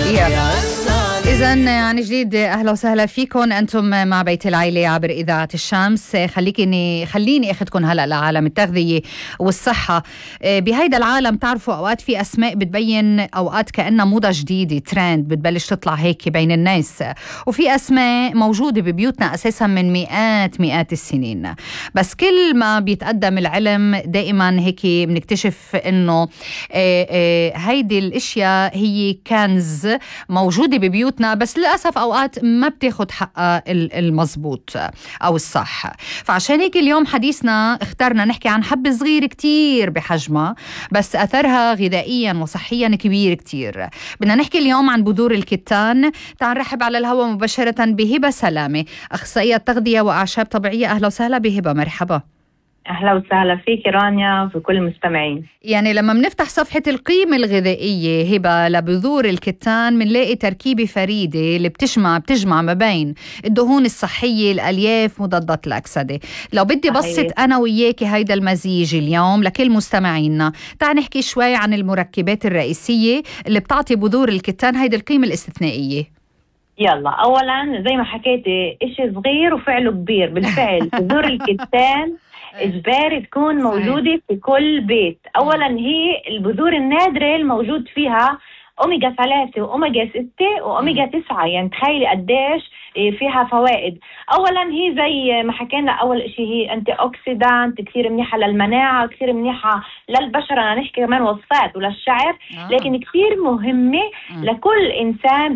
إذن عن جديد أهلا وسهلا فيكم. أنتم مع بيت العيلة عبر إذاعة الشمس. خليني أخذكم هلأ لعالم التغذية والصحة. بهيدا العالم تعرفوا أوقات في أسماء بتبين أوقات كأنها موضة جديدة، ترند بتبلش تطلع هيك بين الناس، وفي أسماء موجودة ببيوتنا أساسا من مئات السنين. بس كل ما بيتقدم العلم دائما هيك بنكتشف إنه هيدي الأشياء هي كنز موجودة ببيوتنا، بس للأسف أوقات ما بتاخد حقها المضبوط أو الصح. فعشان هيك اليوم حديثنا اخترنا نحكي عن حبة صغيرة كتير بحجمها، بس أثرها غذائيا وصحيا كبير كتير. بدنا نحكي اليوم عن بذور الكتان. تعال نرحب على الهواء مباشرة بهبة سلامة، أخصائية تغذية وأعشاب طبيعية. أهلا وسهلا بهبة، مرحبا. أهلا وسهلا فيك رانيا وفي كل المستمعين. يعني لما بنفتح صفحة القيمة الغذائية هبة لبذور الكتان بنلاقي تركيبة فريدة اللي بتجمع ما بين الدهون الصحية، الألياف، مضادات الأكسدة. لو بدي بسط أنا وياكي هيدا المزيج اليوم لكل مستمعينا، تعال نحكي شوي عن المركبات الرئيسية اللي بتعطي بذور الكتان هيدا القيمة الاستثنائية. يلا أولا زي ما حكيتي إشي صغير وفعله كبير. بالفعل بذور الكتان إجباري تكون موجودة في كل بيت. أولا هي البذور النادرة الموجود فيها أوميجا 3 وأوميجا 6 وأوميجا 9. يعني تخيلي قديش فيها فوائد. أولا هي زي ما حكينا، أول إشي هي أنتي أوكسيدانت، كثير منيحة للمناعة، كثير منيحة للبشرة. أنا نحكي كمان وصفات وللشعر، لكن كثير مهمة لكل إنسان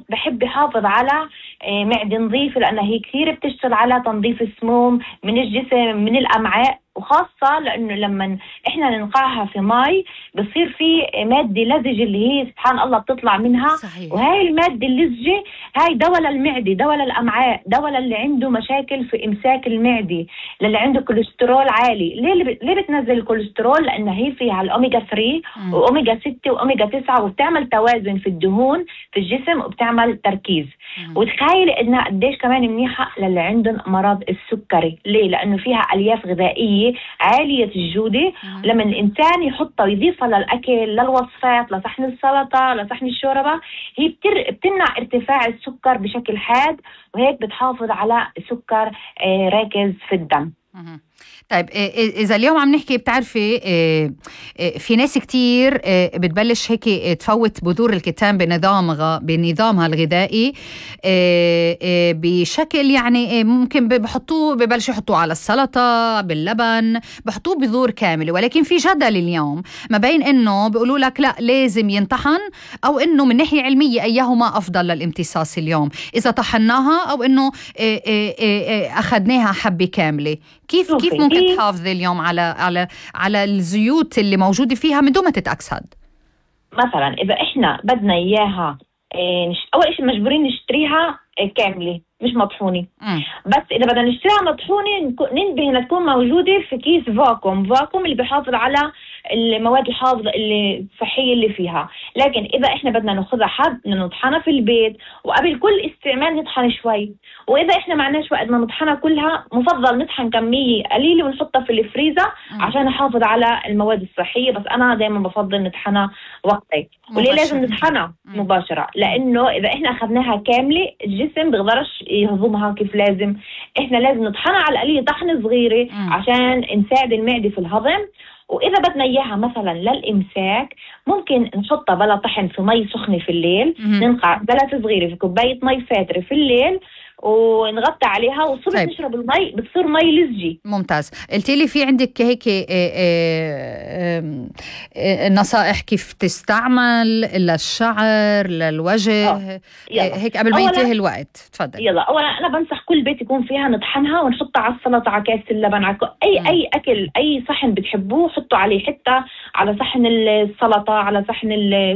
بحب يحافظ على معدة نظيفة، لأنها هي كثير بتشتغل على تنظيف السموم من الجسم من الأمعاء، وخاصة لأنه لما إحنا ننقعها في ماء بصير في مادة لزجة اللي هي سبحان الله بتطلع منها. صحيح. وهاي المادة اللزجة هاي دواء للمعدة، دواء للأمعاء، دواء للي عنده مشاكل في إمساك المعدة، للي عنده كوليسترول عالي. ليه بتنزل الكوليسترول؟ لأنها هي فيها الأوميجا 3 وأوميجا 6 وأوميجا 9، وبتعمل توازن في الدهون في الجسم وبتعمل تركيز. وتخيل إنها قديش كمان منيحة للي عندهم مرض السكري. ليه؟ لأنه فيها ألياف غذائية عالية الجودة. لما الإنسان يحطها ويضيفها للأكل، للوصفات، لصحن السلطة، لصحن الشوربة، هي بتمنع ارتفاع السكر بشكل حاد، وهيك بتحافظ على سكر راكز في الدم. طيب إذا اليوم عم نحكي، بتعرفي في ناس كتير بتبلش هيك تفوت بذور الكتان بنظامها الغذائي بشكل يعني ممكن ببلشوا يحطوه على السلطة باللبن، بحطوه بذور كاملة. ولكن في جدل اليوم ما بين إنه بيقولوا لك لا لازم ينطحن، أو إنه من ناحية علمية أيهما أفضل للامتصاص اليوم، إذا طحناها أو إنه أخذناها حبة كاملة. كيف ممكن تحافظ اليوم على الزيوت اللي موجودة فيها من دون ما تتأكسد؟ مثلا إذا إحنا بدنا إياها أول شيء مجبورين نشتريها كاملة مش مطحونة. بس إذا بدنا نشتريها مطحونة ننبه إنها تكون موجودة في كيس فاكوم اللي بيحافظ على المواد الحافظة اللي الصحية اللي فيها. لكن إذا إحنا بدنا ناخذها بدنا نطحنها في البيت، وقبل كل استعمال نطحن شوي. وإذا إحنا معناش وقت ما نطحنها كلها، مفضل نطحن كمية قليلة ونحطها في الفريزر عشان نحافظ على المواد الصحية. بس أنا دائما بفضل نطحنها وقتي. وليه لازم نطحنها مباشرة؟ لأنه إذا إحنا أخذناها كاملة الجسم بيقدرش يهضمها كيف لازم. إحنا لازم نطحنها على القليل طحنة صغيرة عشان نساعد المعدة في الهضم. وإذا بدنا إياها مثلا للإمساك، ممكن نحطها بلا طحن في مي سخنة في الليل. ننقع بلة صغيرة في كوباية مي فاترة في الليل ونغطي عليها، والصبح نشرب المي بتصير مي لزجي. ممتاز. قلتي لي في عندك هيك نصائح كيف تستعمل للشعر للوجه هيك قبل ما ينتهي الوقت؟ تفضل. يلا أولا أنا بنصح كل بيت يكون فيها نطحنها ونحطها على السلطة، على كاس اللبن، على أي أكل، أي صحن بتحبوه حطوا عليه، حتى على صحن السلطة، على صحن